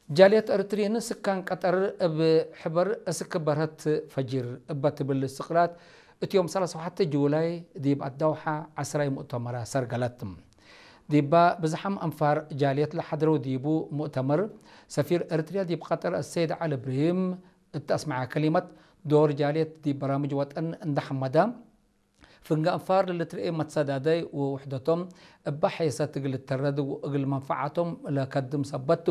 ጃልየት ኤርትሪን ስካን ቀጠር እብ ሕበር እስክ በርሀት ፈጂር እበ ትብል ስቕላት እትዮም ሰላሳ ወሓተ ጁላይ ዲብ ኣዳውሓ ዓስራይ ሙእተመራ ሰርገለት። ዲባ ብዝሓም ኣንፋር ጃልየት ለሓድረው ዲቡ ሙእተመር ሰፊር ኤርትርያ ዲብ ቀጠር ኣሰይድ ዓሊ እብርሂም እተኣስመዐ ከሊመት ዶር ጃልየት ዲብ በራምጅ ወጠን እንዳሐመዳ ፍንጋ ኣንፋር ለልትርኤ መትሰዳደይ ወውሕደቶም እባ ሐየሰት እግል ልተረድ ወእግል መንፈዓቶም ለከድም ሰበቱ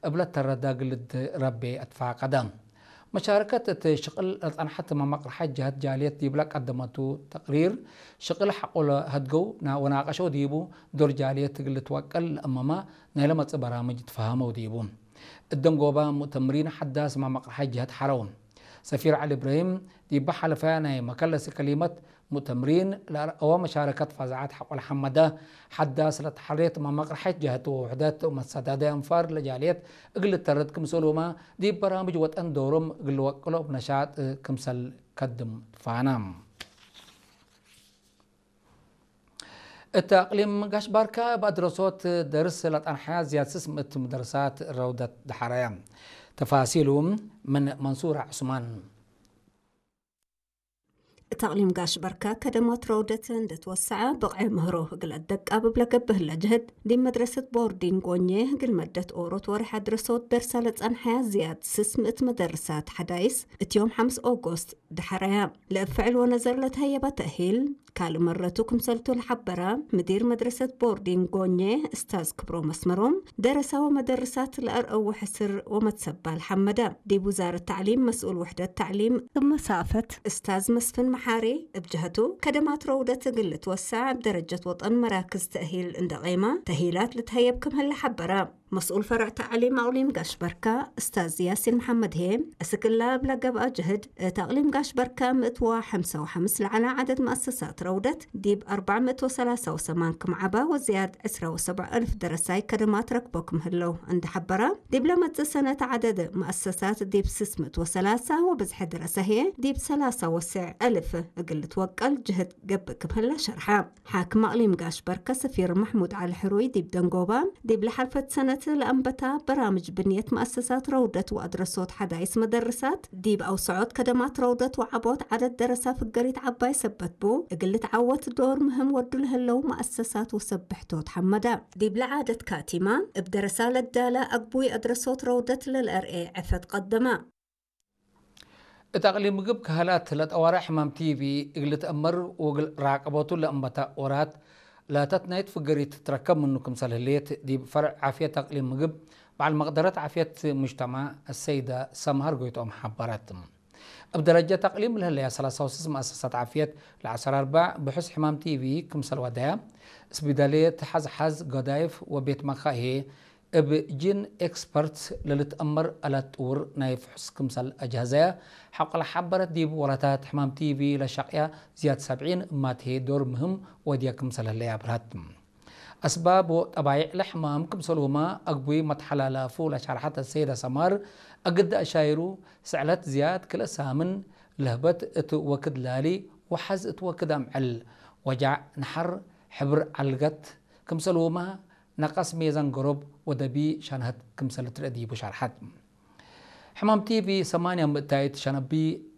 እብለ ተረዳ ግልድ ረቤ ኣትፋቀደ። መሻረከት እቲ ሽቅል ለጸንሐት መመቅርሐት ጀሀት ጃልየት ዲብላ ቀደመቱ ተቅሪር ሽቅል ሐቆ ለሀድገው ወናቀሸው ዲቡ ዶር ጃልየት እግል ልትወቀል ለእመማ ናይ ለመጽእ በራምጅ ትፈሃመው ዲቡ። እደንጎባ ሙእተምሪን ሐዳስ መመቅርሐት ጀሀት ሐረው። ሰፊር ዓሊ እብራሂም ዲባ ሐለፈያ ናይ መከለሲ ከሊመት ሙእተምሪን ለአርአወ መሻረከት ፋዛዓት ሐቆል ሐመደ ሐዳስ ለተሐሬት መመቅርሐት ጀህት ወውሕደት መሰዳደ አንፋር ለጃልየት እግል ልተረድ ክምሰሉማ ዲብ በራምጅ ወጠን ዶሮም እግል ልወቅሎ ብነሻጥ ክምሰል ከድም ትፋና። እት ኣቅሊም ጋሽ ባርካ እብ ኣድረሶት ደርስ ለጠንሐያ ዝያድ ስስ ምእት ምደርሳት ረውደት ደሓረያ። ተፋሲሉ ምን መንሱራ ዑስማን። እት ኣቅሊም ጋሽ ባርካ ከደማት ረውደት እንደትወሰዐ ብቕዐ ምህሮ እግል ኣደቃብብ ለገብእ ህለ ጀህድ ዲብ መድረሰት ቦርዲንግ ጎኘ እግል መደት ኦሮት ወርሕ ኣድረሶት ደርሳ ለጸንሐያ ዝያድ ስስ ምእት መደርሳት ሐዳይስ እት ዮም ሐምስ ኦጎስት ደሓረያ ለእብ ፍዕል ወነዘር ለተሀየበ ተእሂል ካልእ መረቱ ክምሰልቱ ለሐበረ ምዲር መድረሰት ቦርዲንግ ጎኘ እስታዝ ክብሮም ኣስመሮም፣ ደረሳ ወመደርሳት ለአርአው ሕስር ወመትሰባል ሐመደ። ዲብ ውዛረት ተዕሊም መስኡል ውሕደት ተዕሊም እብ መሳፈት እስታዝ መስፍን መሓሪ እብ ጀሀቱ፣ ከደማት ረውደት እግል ልትወሰዕ እብ ደረጀት ወጠን መራክዝ ተእሂል እንደ ቄማ ተእሂላት ልትሀየብ ክም ህለ ሐበረ። መስኡል ፈርዕ ተዕሊም ኣቅሊም ጋሽ በርካ፣ እስታዝ ያሲን መሓመድ ህዬ፣ እስክላ እብለ ገብአ ጀህድ፣ እት ኣቅሊም ጋሽ በርካ ምእት ወሐምሳ ወሐምስ ለዐለ ዐደድ መአሰሳት ረውደት፣ ዲብ ኣርባዕ ምእት ወሰላሳ ወሰማን ክም ዐባ ወዝያድ ዕስራ ወሰብዕ እልፍ ደረሳይ ከደማት ረክቦ ክም ህለው እንደ ሐበረ፣ ዲብ ለመጽእ ሰነት ዐደድ መአሰሳት ዲብ ስስ ምእት ወሰላሳ ወብዝሒ ደረሳ ህዬ ዲብ ሰላሳ ወስዕ እልፍ እግል ልትወቀል ጀህድ ገብእ ክም ህለ ሸርሐ። ሓክም ኣቅሊም ጋሽ በርከ ሰፊር መሕሙድ ዓሊ ሕሩይ ዲብ ደንጎባ፣ ዲብ ለሓልፈት ሰነት ለአንበታ በራምጅ ብንየት መአሰሳት ረውደት ወአድረሶት ሐዳይስ መደርሳት፣ ዲብ አውሰዖት ከደማት ረውደት ወዐቦት ዐደድ ደረሳ ፍገሪት ዐባይ ሰበት ቡ፣ እግል ልትዓወት ዶር ምህም ወዱ ለህለው መአሰሳት ወሰብሕቶት ሐመዳ። ዲብ ለዓደት ካቲማ፣ እብ ደረሳ ለዳለ አግቡይ አድረሶት ረውደት ለልአርኤ ዕፈት ቀደማ። እት አቅሊም ምግብ ከህላት ለጠዋርዕ ሕማም ቲቪ እግል ልትአመር ወእግል ራቀቦቱ ለእንበታ ወራት ለተትናይት ፍገሪት ትትረከብ ምኑ ክምሰል ህሌት ዲብ ፈርዕ ዓፍየት አቅሊም ምግብ በዓል መቅደረት ዓፍየት ሙጅተማዕ አሰይደ ሰምሃር ጎይትኦም ሐበረት። እብ ደረጀት አቅሊም ለህለያ ሰላሳ ወስስ መአሰሳት ዓፍየት ለዐሰር አርባዕ ብሑስ ሕማም ቲቪ ክምሰል ወደያ እስቢዳልየት ሐዝሐዝ ገዳይፍ ወቤት መካሄ እብ ጂን ኤክስፐርት ለልትአመር አላት ጥውር ናይ ፍሑስ ክምሰል አጅሀዘያ ሐቆ ለሐበረት ዲብ ወረታት ሕማም ቲቪ ለሸቅያ ዝያድ ሰብዒን እማትሄ ዶር ምህም ወድያ ክምሰል ህለያ አብርሀት። አስባብ ወጠባይዕ ለሕማም ክምሰልሁማ አግቡይ መትሐላላፉ ለሸርሐት አሰይደ ሰማር አግድ አሻይሩ ስዕለት ዝያድ ክልእ ሳምን ለህበት እት ወክድ ላሊ ወሐዝ እት ወክድ አምዕል ወጃዕ ነሐር ሕብር ዐልገት ክምሰልሁማ ነቀስ ሜዛን ገሮብ ወደቢ ሸንሀት ክምሰል ትርእ ዲቡ ሸርሐት። ሕማም ቲቪ ሰማንያ ምእታይት ሸነቢ፣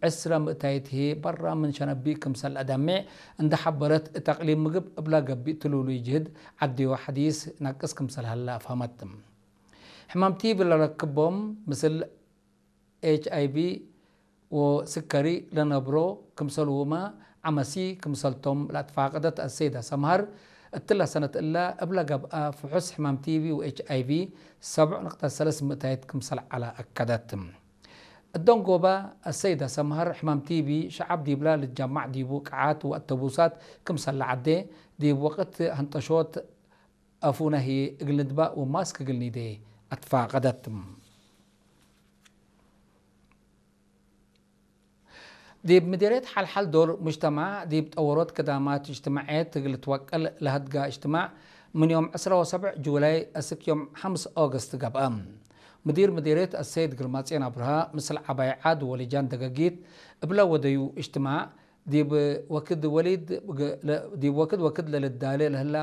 ዕስራ ምእታይት ህዬ በራ ምን ሸነቢ ክምሰል አዳሜዕ እንደ ሐበረት እት አቅሊም ምግብ እብላ ገቢእ ትሉሉይ ጅህድ ዐድዮ ሐዲስ ነቅስ ክምሰል ሀላ አፍሀመት። ሕማም ቲቪ ለረክቦም ምስል ኤች አይ ቪ ወስከሪ ለነብሮ ክምሰልሁማ ዐመሲ ክምሰልቶም ለአትፋቀደት አሰይዳ ሰምሃር፣ እትላ ሰነት እላ እብላ ገብአ ፍሑስ ሕማም ቲቪ ወኤች አይ ቪ ሰብዕ ነጥቢ ሰለስ ምእታይት ክምሰል ዐላ አከደት። እደንጎባ አሰይዳ ሰምሃር ሕማም ቲቪ ሸዓብ ዲብላ ልትጀማዕ ዲቡ ቀዓት ወአተቡሳት ክምሰል ለዐዴ፣ ዲብ ወቅት ሀንጠሾት አፉነ ህዬ እግል ንድባእ ወማስክ እግል ኒዴ አትፋቀደት። ዲብ ምዴርየት ሐልሐል ዶር ሙጅተማዕ ዲብ ጠወሮት ክዳማት እጅትማዕየት እግል ልትወቀል ለሀድጋ እጅትማዕ ምን ዮም ዕስራ ወሰብዕ ጁላይ እስክ ዮም ሐምስ ኦገስት ገብአ። ምዲር ምዴርየት አሰይድ ግርማጽዮን አብርሃ ምስል ዐባይ ዓድ ወልጃን ደገጊት እብለ ወደዩ እጅትማዕ ዲብ ወክድ ወሊድ ዲብ ወክድ ወክድ ለልዳሌ ለህላ